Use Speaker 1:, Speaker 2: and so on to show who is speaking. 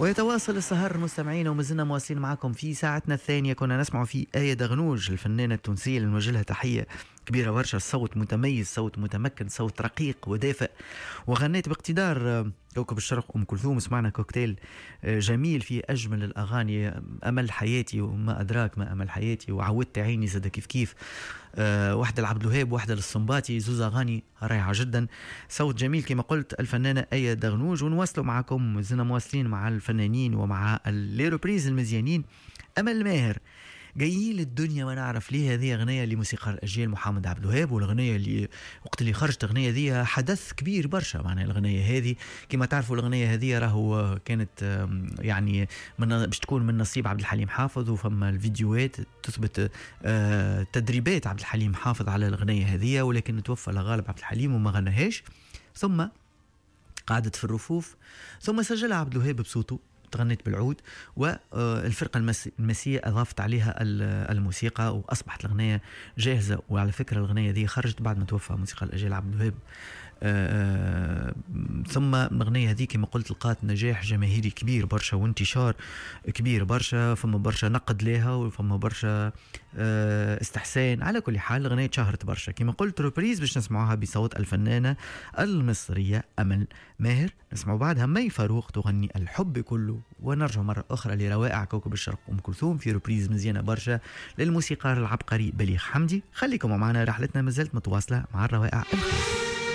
Speaker 1: ويتواصل السهر مستمعينا، ومازلنا مواصلين معكم في ساعتنا الثانية. كنا نسمع في آية دغنوج الفنانة التونسية اللي نوجه لها تحية كبيرة برشا. صوت متميز، صوت متمكن، صوت رقيق ودافئ، وغنيت باقتدار كوكب الشرق أم كلثوم. سمعنا كوكتيل جميل في أجمل الأغاني، أمل حياتي وما أدراك ما أمل حياتي، وعودت عيني زاد كيف كيف، واحدة لعبد الوهاب واحدة للصنباطي، زوز أغاني رائعة جدا. صوت جميل كما قلت الفنانة آية دغنوج. ونواصلوا معكم، زلنا مواصلين مع الفنانين ومع les reprises المزيانين. أمل ماهر جايين للدنيا ما نعرف ليه، هذه أغنية لموسيقار الأجيال محمد عبد الوهاب، والأغنية اللي وقت اللي خرجت الأغنية ذي حدث كبير برشا. معناها الأغنية هذه كما تعرفوا الأغنية هذه راهو كانت يعني من باش تكون من نصيب عبد الحليم حافظ، وفما الفيديوهات تثبت تدريبات عبد الحليم حافظ على الأغنية هذه، ولكن توفى لغالب عبد الحليم وما غناهاش، ثم قعدت في الرفوف، ثم سجلها عبد الوهاب بصوته، تغنيت بالعود، والفرقة المسية أضافت عليها الموسيقى وأصبحت الأغنية جاهزة. وعلى فكرة الأغنية دي خرجت بعد ما توفى موسيقى الأجيال عبد الوهاب. ثم الأغنية هذه كما قلت لقات نجاح جماهيري كبير برشا وانتشار كبير برشا، فما برشا نقد لها وفما برشا استحسان. على كل حال الأغنية تشهرت برشا كما قلت. reprise باش نسمعوها بصوت الفنانة المصرية أمل ماهر. نسمعوا بعدها مي فاروق تغني الحب كله، ونرجع مرة أخرى لروائع كوكب الشرق أم كلثوم في reprise مزيانة برشا للموسيقار العبقري بليغ حمدي. خليكم معنا، رحلتنا مازالت متواصلة مع الروائع الخير.